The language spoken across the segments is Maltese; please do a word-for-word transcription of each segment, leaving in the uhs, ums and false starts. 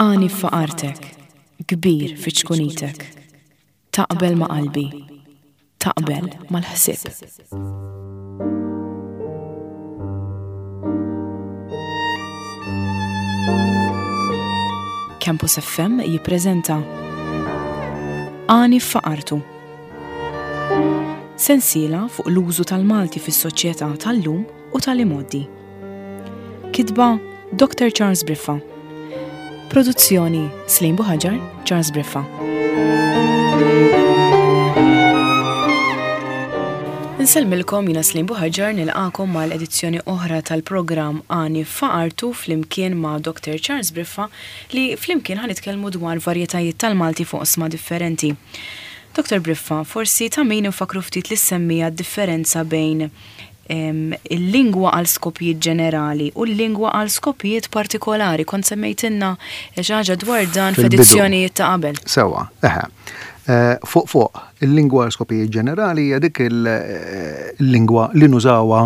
Għani f'faqartek, kbir fi ċkunitek. Taqbel ma' qalbi, taqbel mal-ħsieb. Campus F M jippreżenta Għani f'faqartu. Sensiela fuq l-użu tal-Malti fis-soċjetà tal-lum u tal-imgħoddi. Kitba Doctor Charles Briffa. Produzzjoni Slim Buhaġar, Charles Briffa. Insellmilkom jiena Slim Buhaġar, nilqakom mal-edizzjoni oħra tal-programm Għani f'Faqartu flimkien ma' Doctor Charles Briffa li flimkien ħanitkellmu dwar varjetajiet tal-Malti fuq oqsma differenti. Doctor Briffa, forsi ta' min infakru ftit li semmija d-differenza bejn, em, il-lingwa għal skopijiet ġenerali u l-lingwa għal skopijiet partikolari. Kont semmejtilna xi ħaġa dwar dan Fil-bidu. f'edizzjonijiet ta' qabel. Sewwa, eħe. Eh, fuq fuq, il-lingwa għal skopijiet ġenerali hija dik il-, eh, il-lingwa li nużawha,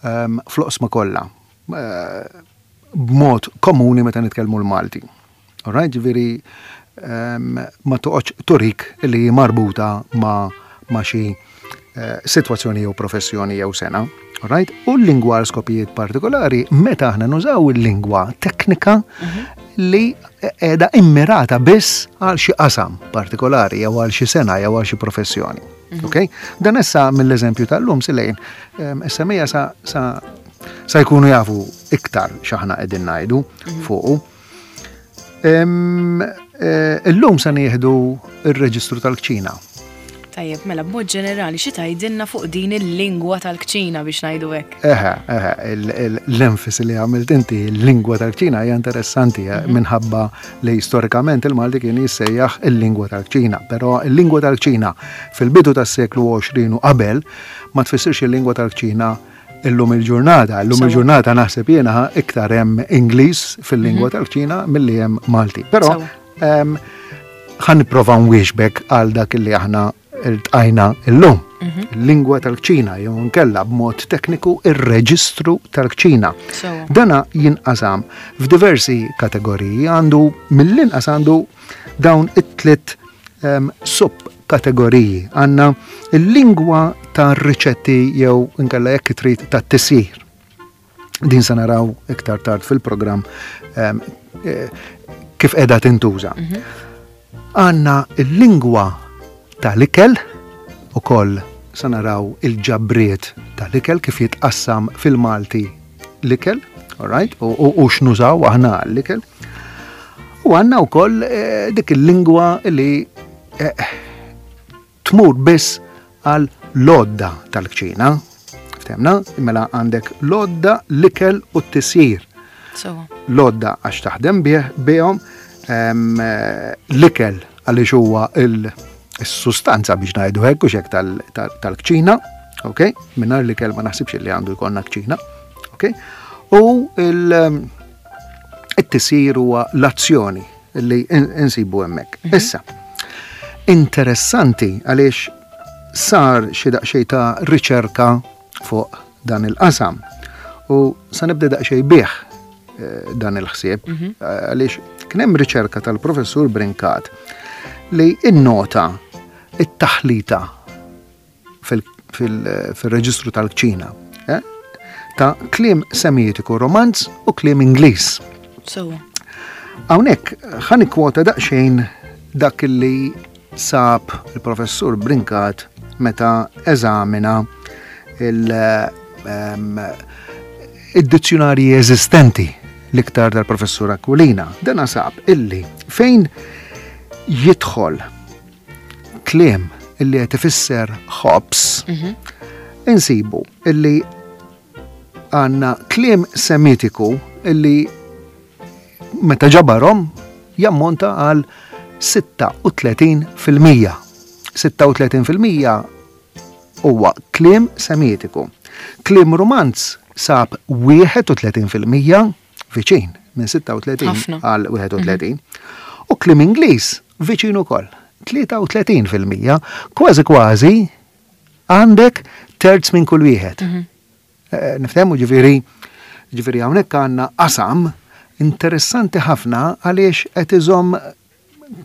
ehm, fl-oqsma kollha. Eh, b'mod komuni meta nitkellmu l-Malti. All right, ġifieri, ehm, ma toqgħodx turik li hi marbuta ma', ma' xi, eh, sitwazzjoni jew professjoni jew sena. All right? U l-lingwa għal skopijiet partikolari meta aħna nużaw il-lingwa teknika Mhm. li qiegħda immirata biss għal xi qasam partikolari jew għal xi sena jew għal xi professjoni. Mhm. Ok? Dan issa mill-eżempju tal-lum silejn, ehm, issa mija sa, sa, sa jkunu jafu iktar x'aħna qegħdin ngħidu Mhm. fuqu. Ehm, eh, illum se nieħdu r-reġistru tal-kċina. Tajjeb, mela b'mod ġenerali xi tgħidilna fuq din il-lingwa tal-kċina biex ngħidu hekk? Eħe, eħe, il-, il-, l-enfasi li għamilt inti, il-lingwa tal-kċina hija interessanti, eh, Mhm. minħabba li storikament il-Malti kien jissejjaħ il-lingwa tal-kċina, però il-lingwa tal-kċina fil-bidu tas-seklu għoxrin u qabel ma tfissirx il-lingwa tal-kċina illum il-ġurnata. Illum Sewa. il-ġurnata naħseb jiena iktar hemm Ingliż fil-lingwa Mhm. tal-kċina milli hemm Malti. Però, Sewa. ehm, ħa nipprova nwieġbek għal dak li aħna iltqajna illum. Mhm. Il-lingwa tal-kċina jew nkella b'mod tekniku ir-reġistru tal-kċina. Sewa. Dana jinqasam f'diversi kategoriji, għandu mill-inqas għandu dawn it-tliet, ehm, subkategoriji. Għandna il-lingwa tar-riċetti jew inkella jekk trid tat-tisjir. Din se naraw iktar tard fil-programm, ehm, eh, kif qiegħda tintuża. Mhm. Għandna il-lingwa tal-ikel, ukoll se naraw il-ġabriet tal-ikel kif jitqassam fil-Malti l-ikel, all right? U, u, u x'nużaw aħna l-ikel. U għandna wkoll, eh, dik il-lingwa li, eh, tmur biss għal lodda tal-kċina. Ftemna? Mela għandek lodda, l-ikel u t-tisjir. Sewa. Lodda għax taħdem bih, bihom, ehm, eh, l-ikel għaliex huwa il-, is-sustanza biex ngħidu hekk u xek tal-, tal-, tal-kċina, ok? Mingħajr l-ikel ma naħsibx li għandu jkollna kċina, ok? U il-, it-tisjir huwa l-azzjoni li in-, insibu hemmhekk. Mhm. Issa, interessanti għaliex sar xi daqsxejn ta' riċerka fuq dan il-qasam. U sa nibda daqsxejn bih, eh, dan il-ħsieb, Mhm. eh, għaliex kien hemm riċerka tal-professur Brincat li innota it-taħlita fil-, fil-, fil-reġistru tal-kċina, eh, ta' kliem semitiku romanz u kliem Ingliż. Sewa. Hawnhekk ħa nikkwota daqsxejn dak li sab il-professur Brincat meta eżamina il, ehm, id-dizzjonarji eżistenti l-iktar tal-professur Aquilina. Dana sab illi fejn jidħol kliem illi qed ifisser ħobż, Mhm. insibu illi għandna kliem semitiku illi meta ġabarhom jammonta għal sitta u tletin fil-mija. Sitta u tletin fil-mija huwa kliem semitiku. Kliem romanz sab wieħed u tletin fil-mija viċin minn sitta u tletin Ħafna. għal wieħed u tletin. U kliem Ingliż viċin ukoll, tlieta u tletin fil-mija, kważi kważi għandek terz minn kull wieħed. Mhm. Eh, niftehmu ġifieri, ġifieri hawnhekk għandna qasam Interessanti ħafna għaliex qed iżomm,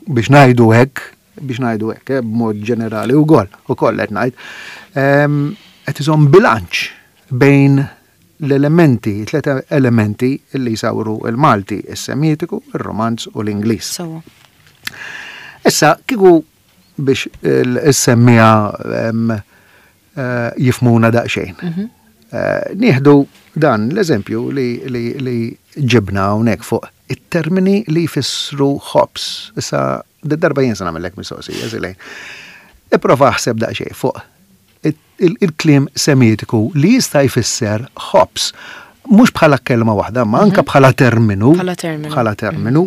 biex ngħidu hekk, biex ngħidu hekk, eh, b'mod ġenerali wkoll, ukoll qed ngħid, ehm, qed iżomm bilanċ bejn l-elementi, tliet elementi li jsawru il-Malti, is-Semitiku, ir-Romanz u l-Ingliż. Sewwa. Issa, kieku biex is-semmiegħa eh, jifhmuna daqsxejn. Mhm. Eh, Nieħdu dan l-eżempju li, li, li ġibna hawnhekk fuq it-termini li jfissru ħobż. Issa, darba jien se nagħmellek mistoqsija, Zilej. Ipprova aħseb daqsxejn fuq il-kliem Semitiku li jista' jfisser ħobż. Mhux bħala kelma waħda, ma anka bħala terminu. Bħala terminu. Bħala terminu.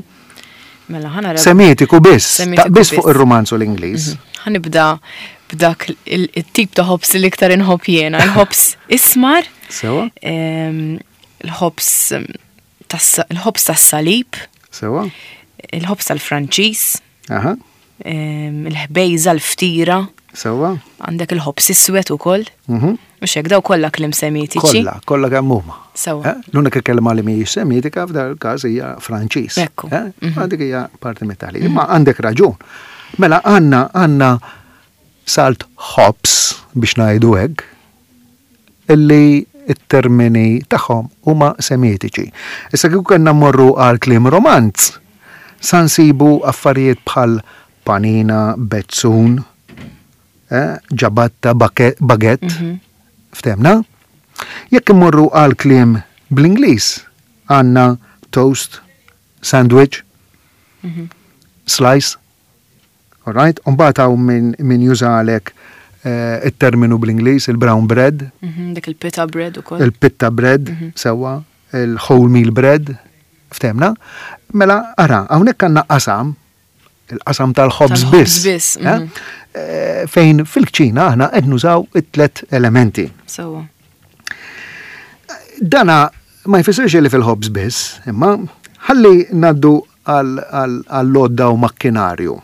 Mela, ħa nara. Semitiku biss, Semitiku ta' biss fuq biss. ir-Romanz u l-Ingliż. Ħa nibda b'dak il- il-tip ta' ħobż li iktar inħobb jiena. Il-ħobż ismar, Sewwa? em, il-ħobż em, tas- il-ħobż tas-salib, Sewwa? il-ħobż tal-Franċiż, Aha, em, il-ħbejża, l-ftira, sewwa? għandek il-ħobż iswed ukoll. Mhm. Mhux hekk, daw kollha kliem Semitiċi. Kollha, kollha kemm huma. Sewwa. Eh? L-unika kelma li mhijiex Semitika f'dan il-każ hija Franċiż. Ekku. Eh? Ma dik hija parti mit-taħlit. Imma għandek raġun. Mela għandna għandna salt ħobż, biex ngħidu hekk, illi it-termini tagħhom huma Semitiċi. Issa kieku kellna mmorru għal kliem Romanz, sa nsibu affarijiet bħal panina, bezzun, eh, ġabatta, baget, ftehmna? Jekk immorru għal kliem bl-Ingliż, għandna toast, sandwich, slice, all right? Umbagħad hawn min, min jużalek eh, it-terminu bl-Ingliż, il-brown bread, Mhm, Dik il-pita bread ukoll. Il-pitta bread, sewwa, il-wholemeal bread, ftehmna? Mela, ara, hawnhekk għandna qasam, il-qasam tal-ħobż Tal-ħobż biss. biss, eh? mhm. Eh, Fejn fil-kċina aħna qed nużaw it-tlet elementi. Sewwa. Dana ma jfissirx li fil-ħobż biss, imma ħalli ngħaddu għall-għodda u makkinarju.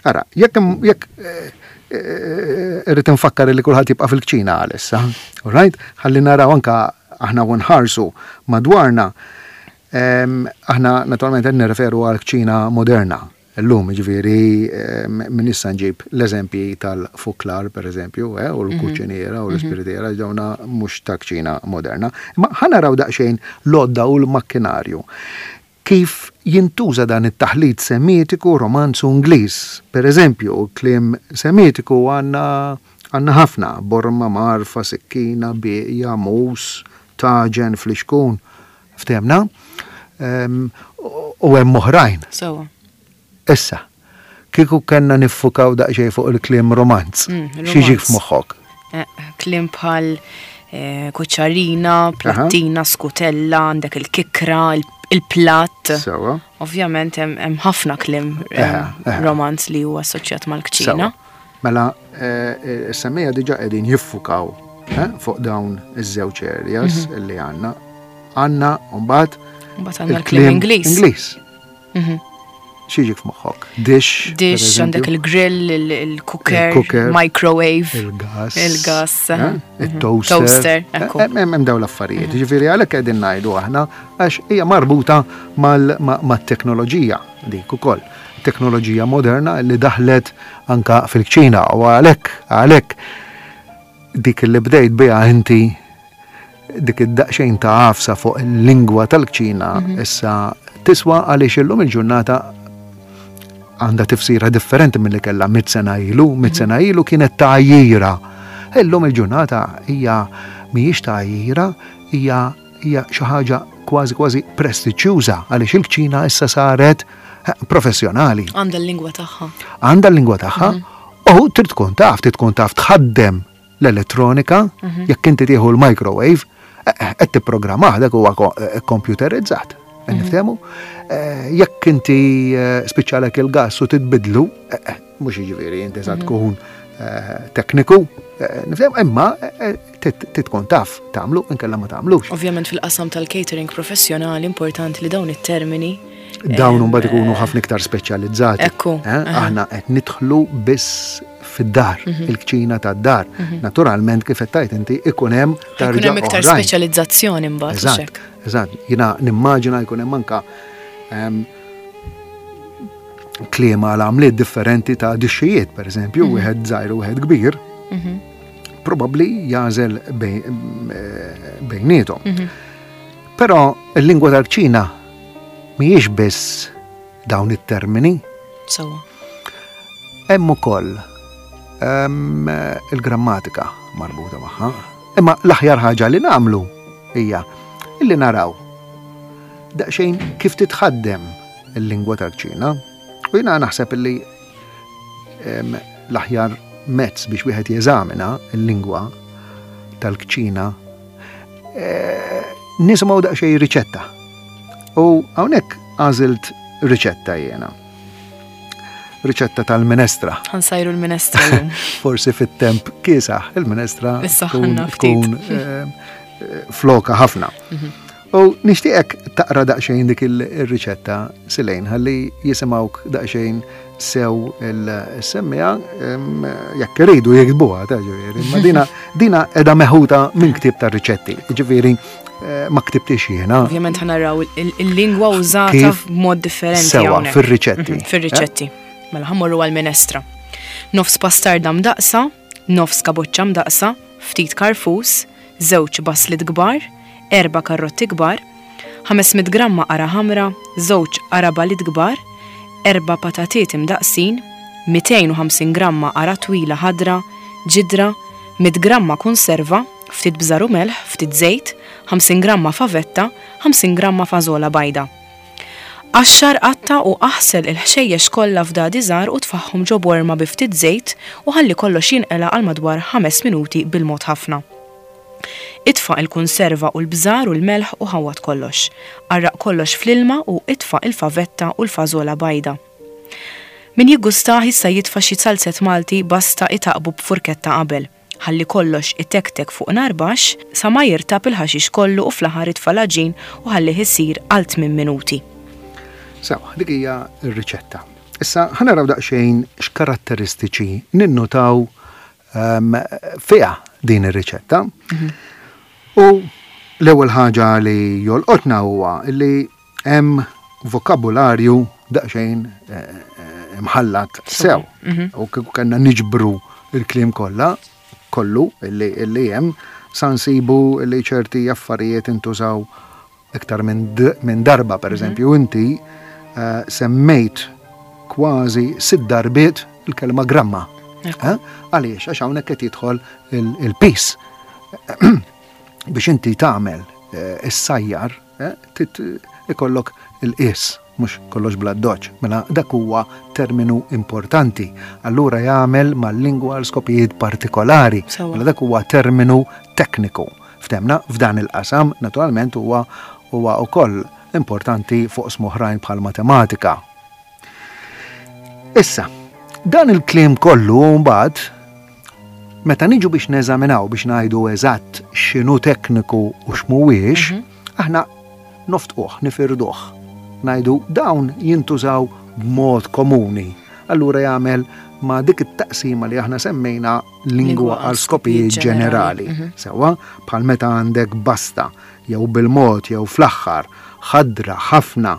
Ara, jekk jekk eh, eh, irrid nfakkar li kulħadd jibqa' fil-kċina għalissa, all right? Ħalli naraw anka aħna u nħarsu madwarna. Em, Aħna naturalment qed nirreferu għal kċina moderna. Illum, ġifieri, em, minn issa nġib l-eżempji tal-fuklar, per eżempju, eh, u l-kuċiniera u l-ispiritiera, dawna mhux ta' kċina moderna. Ma ħa naraw daqsxejn l-għodda u l-makkinarju. Kif jintuża dan it-taħlit Semitiku, Romanz u Ingliż? Per eżempju, kliem Semitiku għandna għandna ħafna: borma, mgħarfa, sikkina, bieqja, mus, taġen, flixkun. Ftehmna? Em, U hemm oħrajn. Sewwa. Issa, kieku kellna niffukaw daqsxejn fuq il-kliem Romanz, Mm, x'jiġik Romanz. f'moħħok? Eh, Kliem bħal eh, kuċċarina, plattina, skutella, għandek il-kikra, il- il-platt. Sewwa. Ovvjament hemm hemm ħafna kliem eh, Eħe, eħe. Romanz li huwa assoċjat mal-kċina. Sewwa. Mela, eh, is-semmiegħa diġà qegħdin jiffukaw eh, fuq dawn iż-żewġ areas li għandna. Għandna mbagħad Mbagħad għandna l-kliem Ingliż. Ingliż. Mhm. X'jiġik f'moħħok? Dish. per Dish, eżempju, għandek il-grill, il- il-cooker, Il-cooker, microwave. Il-gas. Il-gas, eh, aha. Il-toaster. Toaster, Eh, ekku. Hemm hemm dawn l-affarijiet. Ġifieri għalhekk qegħdin ngħidu aħna għax hija marbuta mal- ma- mat-teknoloġija dik ukoll. Teknoloġija moderna li daħlet anka fil-kċina u għalhekk għalhekk dik li bdejt biha inti, dik id-daqsxejn ta' għafsa fuq il-lingwa tal-kċina, issa tiswa għaliex illum il-ġurnata għandha tifsira differenti mill-li kellha mitt sena ilu. Mitt sena ilu kienet tgħajjira. Illum il-ġurnata hija mhijiex tgħajjira, hija hija xi ħaġa kważi kważi prestiġjuża għaliex il-kċina issa saret eh, professjonali. Għandha l-lingwa tagħha. Għandha l-lingwa tagħha u trid tkun taf, trid tkun taf tħaddem l-elettronika, jekk inti tieħu l-microwave, eh, eh, qed tipprogrammah, dak huwa ko- eh, computerizzat. Qed niftehmu? Eh, Jekk inti eh, spiċċalek il-gas u titbidlu, eh, eh, mhux jiġifieri inti sa tkun eh, tekniku, eh, niftehmu, imma eh, eh, trid trid tkun taf tagħmlu, inkella ma tagħmlux. Ovvjament fil-qasam tal-catering professjonali importanti li dawn it-termini Dawn imbagħad ikunu ħafna iktar speċjalizzati. Ekku. Eh? Aħna qed nidħlu biss fid-dar, Mhm. il-kċina tad-dar. Naturalment, kif qed tgħid inti, ikun hemm Ikun tarġa hemm iktar oħrajn. speċjalizzazzjoni mbagħad. Eżatt, Hekk. eżatt. Jiena nimmaġina jkun hemm anka em, kliem għal għamliet differenti ta' dixxijiet, per eżempju, wieħed żgħir u wieħed kbir, Mhm. probabbli jagħżel bej- eh, bejniethom. Mhm. Però il-lingwa tal-kċina mhijiex biss dawn it-termini, Sewwa. Hemm ukoll ehm, il-grammatika marbuta magħha. Imma l-aħjar ħaġa li nagħmlu hija illi naraw daqsxejn kif titħaddem il-lingwa tal-kċina. U jiena naħseb illi ehm, l-aħjar mezz biex wieħed jeżamina il-lingwa tal-kċina eh, nisimgħu daqsxejn riċetta. U hawnhekk għażilt riċetta jiena. Riċetta tal-minestra. Ħa nsajru l-minestra llum. Forsi fit-temp kiesaħ il-minestra Issaħħanna tkun ftit. tkun, eh, floka ħafna. U nixtieqek taqra daqsxejn dik il-riċetta, Silejn, ħalli jisimgħuk daqsxejn sew il-semmija, em, jekk iridu jiktbuha, ta' ġifieri. Ma dina dina qiegħda meħuta minn ktieb ta' riċetti. Ġifieri eh, ma ktibtix jiena. Ovvjament ħa naraw il- il-lingwa użata Kif b'mod differenti Sewa, hawnhekk. fir-riċetti. Mhm, Fir-riċetti. Mela ħa mmorru għal-minestra. Nofs pastarda mdaqsa, nofs kaboċċa mdaqsa, ftit karfus, żewġ baslit kbar, erba' karrotti kbar, ħames mitt gramma qara ħamra, żewġ qarabalit kbar, erba' patatiet imdaqsin, mitejn u ħamsin gramma qara twila ħadra, ġidra, mitt gramma konserva, ftit bżar u melħ, ftit żejt, ħamsin gramma favetta, ħamsin gramma fażola bajda. Qaxxar, qatta' u aħsel il-ħxejjex kollha f'dadi żgħar u tfagħhom ġo borma bi ftit żejt u ħalli kollox jinqela għal madwar ħames minuti bil-mod ħafna. Itfa' il-konserva u l-bżar u l-melħ u ħawwad kollox. Għarraq kollox fl-ilma u itfa' il-favetta u l-fażola bajda. Min jiggustah jista' jitfa' xi zalzett Malti, basta itaqqbu b'furketta qabel. Ħalli kollox itektek fuq nar baxx sa ma jirtab il-ħaxix kollu u fl-aħħar itfa' l-għaġin u ħallih isir għal tmien minuti. Sewa, dik hija r-riċetta. Issa ħa naraw daqsxejn x'karatteristiċi ninnutaw um, fiha din ir-riċetta. U l-ewwel ħaġa li jolqotna huwa li hemm vokabularju daqsxejn eh, eh, imħallat sew. U kieku kellna niġbru il-kliem kollha kollu illi illi hemm, sa nsibu li ċerti affarijiet intużaw iktar minn d- minn darba. Per eżempju, inti eh, semmejt kważi sitt darbiet il-kelma gramma. Ekku. Eh? Għaliex? Għax hawnhekk qed jidħol il-piż. Biex inti tagħmel eh, is-sajjar, eh, tit- ikollok il-qis, mhux kollox bla doċ. Mela dak huwa terminu importanti. Allura jagħmel mal-lingwa għal skopijiet partikolari. Sewa. Mela dak huwa terminu tekniku. Ftemna f'dan il-qasam, naturalment, huwa huwa wkoll importanti fuq oħrajn bħal matematika. Issa, dan il-kliem kollu mbagħad meta niġu biex neżaminaw, biex ngħidu eżatt x'inhu tekniku u x'mhuwiex, aħna noftquh, nifirduh. Ngħidu dawn jintużaw b'mod komuni. Allura jagħmel ma' dik it-taqsima li aħna semmejna lingwa għal skopijiet ġenerali. Sewa, bħal meta għandek basta, jew bil-mod, jew fl-aħħar, ħadra, ħafna,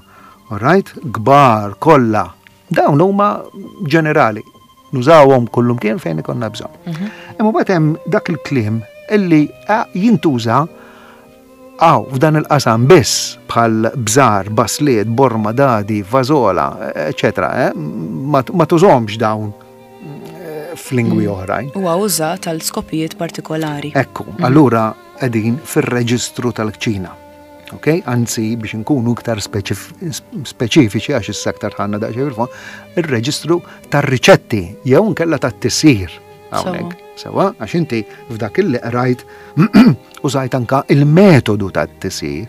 alright, kbar, kollha. Dawn huma ġenerali. Nużawhom kullum kien fejn ikollna bżonn. Imma mbagħad hemm dak il-kliem illi eh, jintuża għaw f'dan il-qasam biss, bħal bżar, basliet, borma, dadi, fażola, eccetera. Eh? Ma, ma tużomx dawn eh, f'lingwi oħrajn. Huwa użat għal skopijiet partikolari. Ekku, allura qegħdin fir-reġistru tal-kċina. Ok? Anzi, biex nkunu iktar speċif- speċifiċi, għax issa aktar ħanna daqsxejn fil-fond, ir-reġistru tar-riċetti jew nkella tat-tisjir hawnhekk. Sewa, għax inti f'dak illi qrajt użajt anka il-metodu tat-tisjir.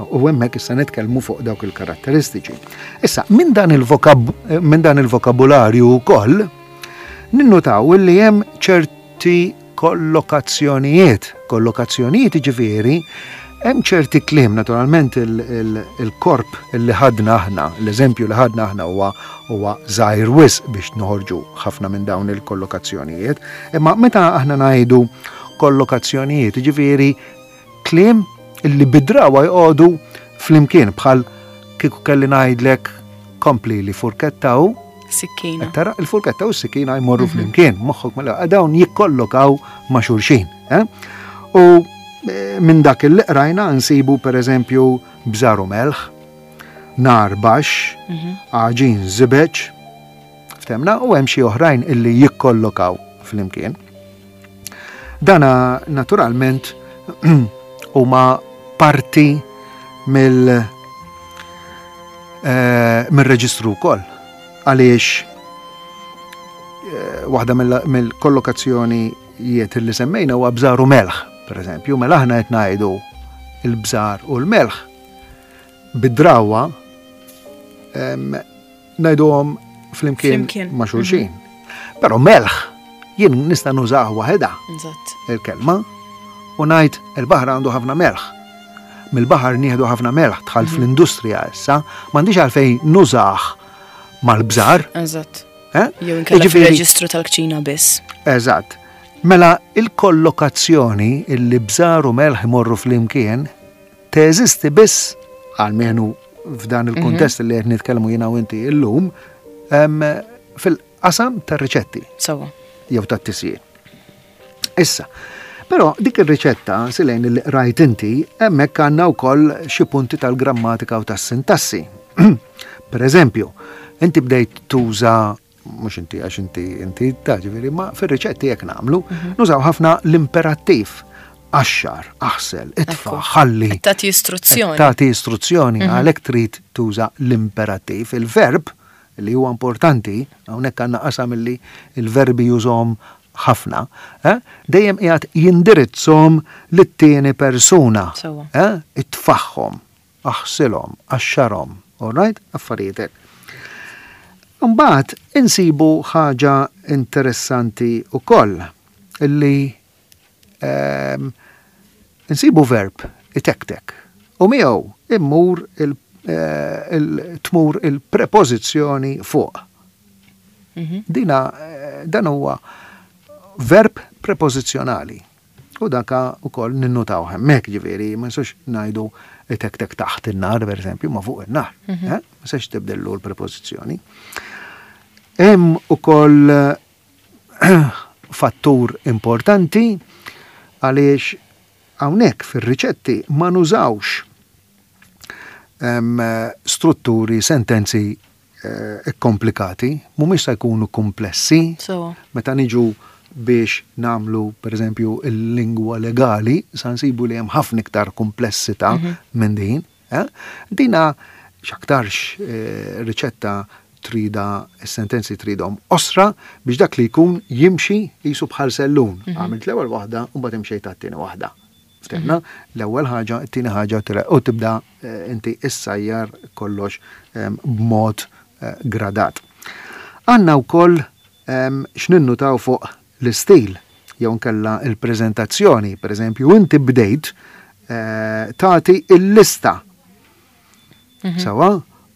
U hemmhekk issa nitkellmu fuq dawk il-karatteristiċi. Issa, minn dan il-vokab minn dan il-vokabularju wkoll ninnutaw li hemm ċerti kollokazzjonijiet. Kollokazzjonijiet ġifieri Hemm ċerti kliem, naturalment il-korp li ħadna aħna, l-eżempju li ħadna aħna huwa huwa żgħir wisq biex noħorġu ħafna minn dawn il-kollokazzjonijiet, imma meta aħna ngħidu kollokazzjonijiet, ġifieri kliem illi bidrawa jqogħdu flimkien, bħal kieku kelli ngħidlek kompli li furketta u sikkina. Tara, il-furketta u s-sikkina jmorru flimkien, moħħok mela dawn jikkollokaw ma' xulxin. Eh? U minn dak il qrajna nsibu per eżempju bżar u melħ, nar baxx, għaġin żibeġ, ftemna, u hemm xi oħrajn illi jikkollokaw flimkien. Dana naturalment huma parti mill eh, mill-reġistru wkoll, għaliex eh, waħda mill-kollokazzjonijiet li semmejna huwa bżar u melħ. Per eżempju, mela aħna qed ngħidu il-bżar u l-melħ bid-drawa ngħiduhom flimkien ma' xulxin. Però melħ jien nista' nużah waħedha il-kelma u ngħid il-baħar għandu ħafna melħ. Mill-baħar nieħdu ħafna melħ, dħalt fl-industrija issa, m'għandix għalfejn nużah mal-bżar. Eżatt. Jew inkella fir-reġistru tal-kċina biss. Eżatt. Mela il-kollokazzjoni illi bżar u melħ imorru flimkien teżisti biss, għalmenu f'dan il-kuntest li qed nitkellmu jiena u inti illum, fil-qasam tar-riċetti. Sawa. Jew tat-tisjir. Issa, però dik ir-riċetta silejn li rajt inti, hemmhekk għandna wkoll xi punti tal-grammatika u tas-sintassi. Per eżempju, inti bdejt tuża, mhux inti għax inti inti ta' ġifieri, ma fir-riċetti jekk nagħmlu, nużaw ħafna l-imperattiv. Qaxxar, aħsel, itfa', ħalli. Tagħti istruzzjoni. Tagħti istruzzjoni, għalhekk trid tuża l-imperattiv. Il-verb li huwa importanti, hawnhekk għandna qasam li il-verbi jużhom ħafna, eh? Dejjem qiegħed jindirizzhom lit-tieni persuna. Eh? Itfaħħom, aħsilhom, qaxxarhom, all right? Affarijiet hekk. Mbagħad insibu ħaġa interessanti wkoll illi ehm, insibu verb itektek u miegħu immur il-tmur eh, il-prepożizzjoni fuq. Mhm. Dina eh, dan huwa verb prepożizzjonali. U daka ukoll ninnutaw hemmhekk, ġifieri ma nistgħux ngħidu itektek taħt in-nar, pereżempju, ma fuq in-nar. Mhm. Eh? Ma sax tibdellu l-prepożizzjoni. Hemm ukoll fattur importanti għaliex hawnhekk fir-riċetti ma nużawx strutturi, sentenzi eh, komplikati, mhumiex se jkunu komplessi. Meta niġu biex namlu, per eżempju, il-lingwa legali, sa nsibu li hemm ħafna iktar komplessità mhm. minn din. Eh? Dina x'aktarx eh, riċetta trida, sentenzi tridhom osra biex dak li jkun jimxi jisu bħal sellun. Mhm. Għamilt l-ewwel waħda u mbagħad imxejt għat-tieni waħda. Ftemna, mhm. l-ewwel ħaġa, it-tieni ħaġa, u tibda eh, inti issajjar kollox b'mod gradat. Għandna wkoll x'ninnutaw fuq l-istil jew nkella il-preżentazzjoni, per eżempju, inti bdejt eh, tagħti il-lista. Mhm. Sawa,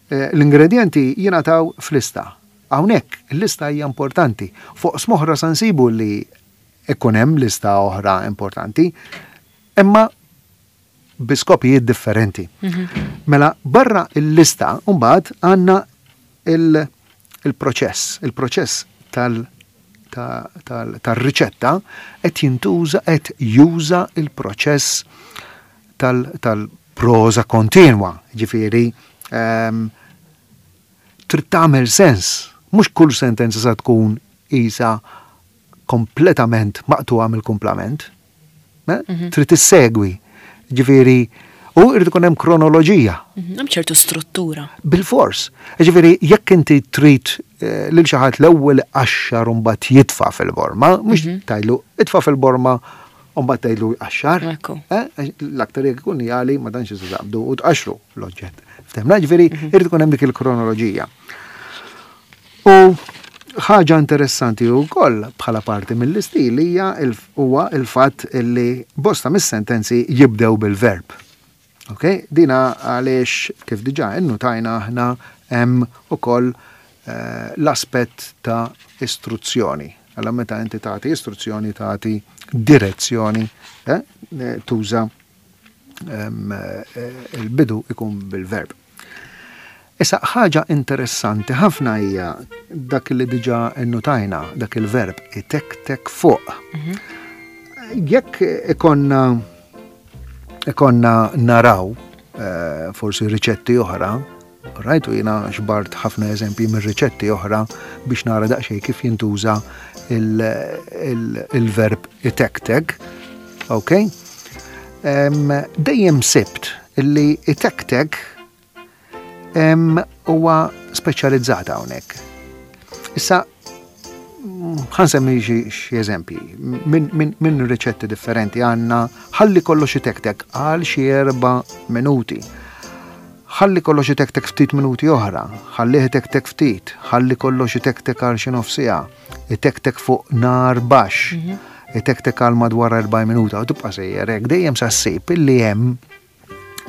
eh, l-ingredienti jingħataw f'lista. Hawnhekk il-lista hija importanti. Fuq smoħra sa nsibu li ikun hemm lista oħra importanti, imma bi skopijiet differenti. Mhm. Mela barra il-lista mbagħad għandna il-proċess, il-proċess tal- tal-riċetta qed jintuża, qed juża il-proċess tal-prosa kontinwa, ġifieri ehm, trid tagħmel sens, mhux kull sentenza sa tkun isa kompletament maqtuha mill-kumplament. Eh? Mhm. Trid issegwi. Ġifieri, u irid ikun hemm kronoloġija. Mhm, hemm ċertu struttura. Bil-fors. Ġifieri, jekk inti trid eh, lil xi ħadd l-ewwel qaxxar u mbagħad jitfa' fil-borma, mhux mhm. tajlu itfa' fil-borma u mbagħad tgħidlu jqaxxar. Eh, l-aktar jekk ikun jali ma tantx taqbdu u tqaxxru l-oġġett. Ftemna, ġifieri mhm. irid ikun hemm dik il-kronoloġija. U ħaġa interessanti wkoll bħala parti mill-istil hija huwa il-fatt li bosta mis-sentenzi jibdew bil-verb. Ok? Dina għaliex kif diġà innutajna aħna hemm ukoll eh, l-aspett ta' istruzzjoni. Alla meta inti tagħti istruzzjoni, tagħti direzzjoni, eh, tuża eh, il-bidu ikun bil-verb. Issa, ħaġa interessanti ħafna hija dak li diġà innutajna, dak il-verb itektek fuq. Mhm. Jekk ikonna ikonna naraw eh, forsi riċetti oħra, rajtu jiena ġbart ħafna eżempji minn riċetti oħra biex nara daqsxejn kif jintuża il-verb itektek, ok? Dejjem sibt illi itektek huwa speċjalizzata hawnhekk. Issa, ħa nsemmi xi eżempji minn min, min riċetti differenti. Għandna ħalli kollox itektek għal xi erba' minuti. Ħalli kollox itektek ftit minuti oħra, ħalli itektek ftit, ħalli kollox itektek għal xi nofs siegħa, itektek fuq nar baxx, mhm. itektek għal madwar erba' minuta u tibqa' sejjer hekk, dejjem sa ssib illi hemm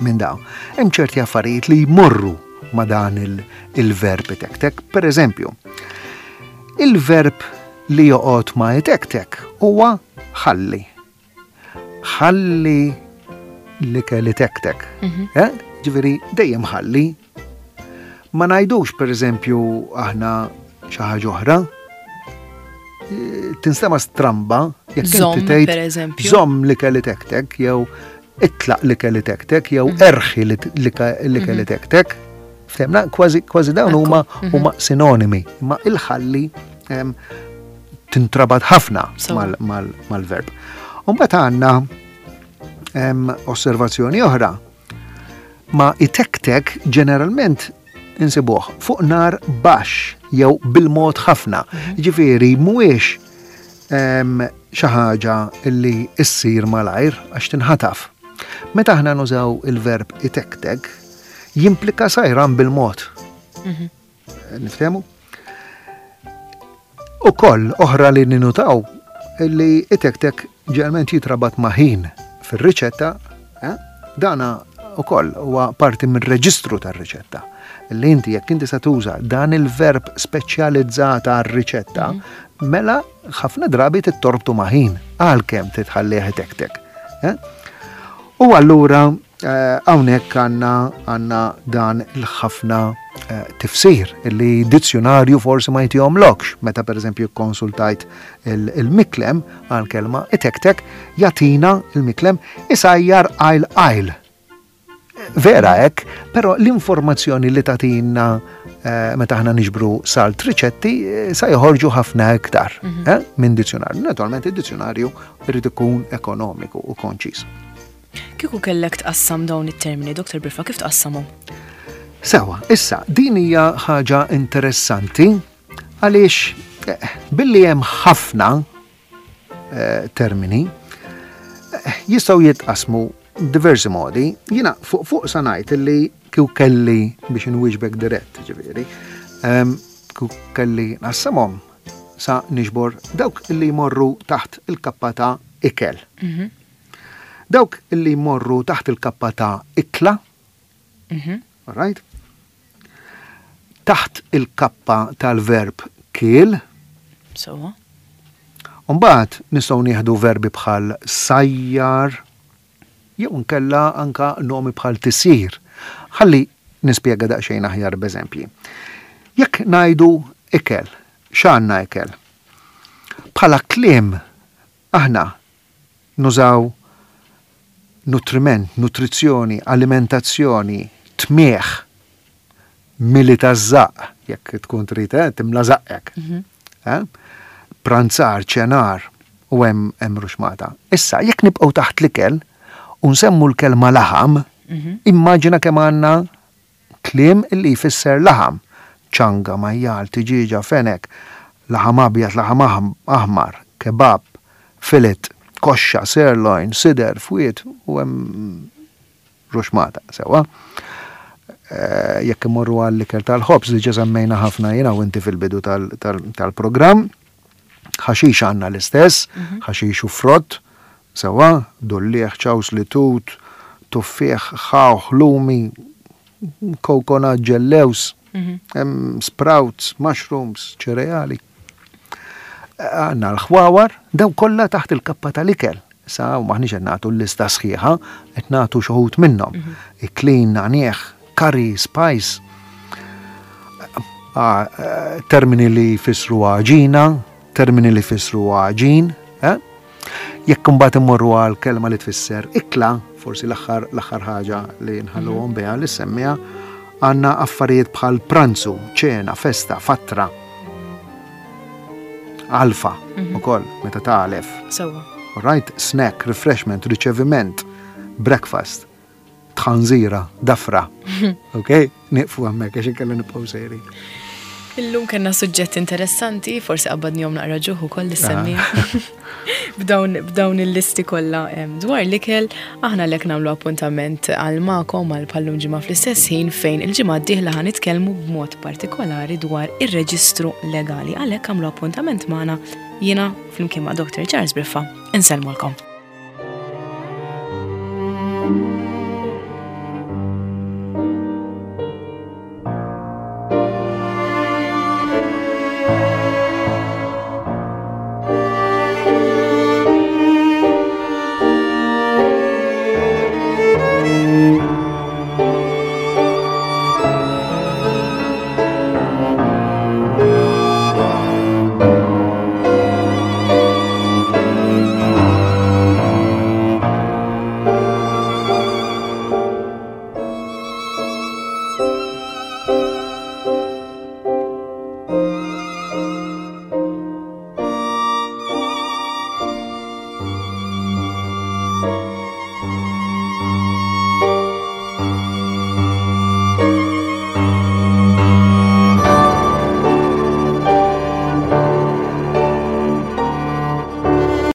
minn dawn. Hemm ċerti affarijiet li jmorru ma' dan il-verb itektek. Per eżempju, il-verb li joqgħod ma' itektek huwa ħalli. Ħalli l-ikel itektek. Mhm. Eh? Ġifieri dejjem ħalli. Ma ngħidux, per eżempju, aħna xi ħaġa oħra. Eh, tinstema stramba jekk inti tgħid per eżempju. Żomm l-ikel itektek jew itlaq l-ikel itektek jew mhm. erħi l-ikel mhm. itektek. Ftemna, kważi kważi dawn huma mhm. huma sinonimi, imma il-ħalli tintrabat ħafna mal-verb. Umbagħad għandna osservazzjoni oħra. Ma itektek ġeneralment insibuh fuq nar baxx jew bil-mod ħafna. Mhm. Ġifieri mhuwiex xi ħaġa li issir malajr għax tinħataf. Meta aħna nużaw il-verb itektek, jimplika sajran bil-mod. Mhm. Niftehmu? Ukoll oħra li ninutaw li itektek ġeneralment jitrabat ma' ħin fir-riċetta, eh? Dana ukoll huwa parti mir-reġistru tar-riċetta. Li inti jekk inti se tuża dan il-verb speċjalizzata għar-riċetta, mhm. mela ħafna drabi tittorbtu ma' ħin għalkemm titħallih itektek. Eh? U allura eh, hawnhekk għandna għandna dan il-ħafna eh, tifsir li dizzjonarju forsi ma jtihomlokx. Meta, per eżempju, konsultajt il-Miklem għal kelma itektek, jagħtina il-Miklem isajjar għajl għajl. Vera hekk, però l-informazzjoni li tagħtina eh, meta aħna niġbru salt riċetti sa joħorġu ħafna iktar mhm. eh, minn dizzjonarju. Naturalment id-dizzjonarju irid ikun ekonomiku u konċis. Kieku kellek tqassam dawn it-termini, Doktor Briffa, kif tqassamhom? Sewa, issa, din hija ħaġa interessanti għaliex eh, billi hemm ħafna eh, termini eh, jistgħu jitqasmu diversi modi. Jiena fuq fuq sa ngħid li kieku kelli biex inwieġbek dirett, ġifieri, ehm, kieku kelli nqassamhom sa niġbor dawk li jmorru taħt il-kappa ta' ikel. Mhm. Dawk li jmorru taħt il-kappa ta' ikla, mhm. all right? Taħt il-kappa tal-verb kiel. So. Umbagħad nistgħu nieħdu verbi bħal sajjar, jew nkella anka nomi bħal tisir. Ħalli nispjega daqsxejn aħjar b'eżempji. Jekk ngħidu ikel, x'għandna ikel? Bħala kliem aħna nużaw nutriment, nutrizzjoni, alimentazzjoni, tmieħ, mili taż-żaqq, jekk tkun trid eh, timla żaqqek. Mhm. Eh? Pranzar, ċenar, u hemm hemm ruxmata. Issa, jekk nibqgħu taħt l-ikel u nsemmu l-kelma laħam, mhm. immaġina kemm għandna kliem illi jfisser laħam. Ċanga, majjal, tiġiġa, fenek, laħam abjad, laħam aħmar, kebab, fillet, koxxa, sirloin, sider, fwied, u hemm ruxmata, sewa. Eh, jekk imorru għall-ikel tal-ħobż li ġa semmejna ħafna jiena u inti fil-bidu tal-programm, ħaxix għandna l-istess, mhm. ħaxix u frott, sewa, dulliegħ, ċawsli, tut, Tuffieħ, ħawħ, lumi, coconut, ġellewż, mhm. sprouts, mushrooms, ċereali. Għandna l-ħwawar, daw kollha taħt il-kappa tal-ikel. Sa u maħniex qed nagħtu l-lista sħiħa, qed nagħtu xi wħud minnhom. Mhm. Iklin, nagħniegħ, curry, spice. Ah, eh, termini li jfissru għaġina, termini li jfissru għaġin, eh? Jekk imbagħad immorru għal kelma li tfisser ikla, forsi l-aħħar l-aħħar ħaġa li nħalluhom biha li semmiha, għandna affarijiet bħal pranzu, ċena, festa, fatra, alfa mhm. ukoll meta tagħlef. Sewwa. Right, snack, refreshment, riċeviment, breakfast, tħanżira, dafra. Ok? Nieqfu hemmhekk għax inkella nibqgħu sejrin. Illum kellna suġġett interessanti, forsi qabbadnihom naqra ġuħ ukoll li semmi. B'dawn b'dawn il-listi kollha dwar l-ikel, aħna lek nagħmlu appuntament għal magħkom għal bħallum ġimgħa fl-istess ħin fejn il-ġimgħa d-dieħla ħa nitkellmu b'mod partikolari dwar ir-reġistru legali. Għalhekk għamlu appuntament magħna jiena flimkien ma' Doctor Charles Briffa. Insellmulkom.